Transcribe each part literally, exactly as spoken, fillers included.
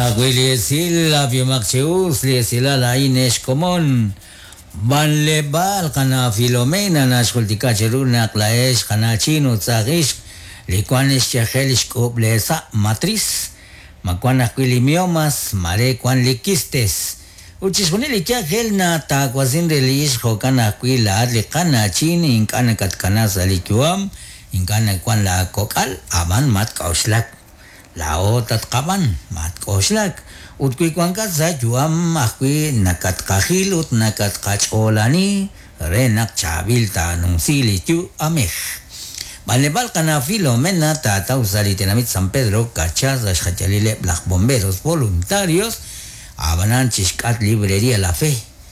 Ajwi' li esil ab'ihomaq chi us li esilal a'in ex komon. B'anleb'aal qana' Filomena naxjultika cheru naq laa'ex qana'chin ut saaj ixq li wan xyajel xk'ub' leesa' matriz, ma wan ajwi' li miomas, mare wan li quistes. Ut chixjunil li yajel nataawasin re li ixq jo'kan ajwi' laa'at li qana'chin ink'a' nakatkana sa' li yu'am, ink'a' nawan laakok'al, ab'an matk'a'uxlak. Laa'o tatqab'an, matk'oxlak. Ut wi wankat sa' yu'am ajwi' nakatqajil ut nakatqach'oolani re naq chaab'il taanumsi li yu'amej. B'anleb'aal qana' Filomena taataw sa' li tenamit San Pedro Carchá sa' xjayalileb' laj bomberos voluntarios ab'anan chixk'at librería La Fe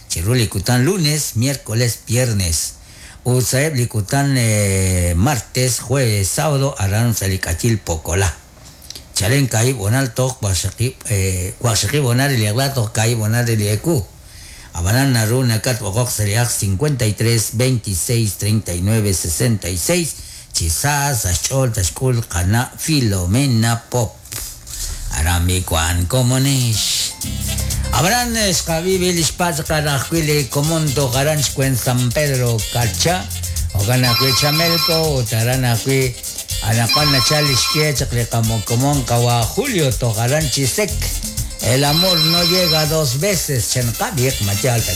chiru li kutan lunes, miércoles, viernes. Ut sa'eb' li kutan eh, martes, jueves, sábado aran sa' li k'ayil Pokolá. Chalen kaahib' honal toj waqxaqib' eh, waqxaqib' honal li eq'la toj kaahib' honal li ewu. Ab'anan naru nakatb'oqoq sa' li aj cincuenta y tres, veintiséis, treinta y nueve, sesenta y seis chi sa sa' xch'ool taxk'ul qana' Filomena Pop. Aran mi wan komonex. Ab'anan xqab'i li xpatz' ajwi' li komon toj aran xkwen San Pedro Carchá jo'kan ajwi' Chamelco ut aran ajwi' anaqwan nachal li xye chaq li qamokomon qawa Julio toj aran Chisec. El amor no llega dos veces, chan qab'iq mayaal ta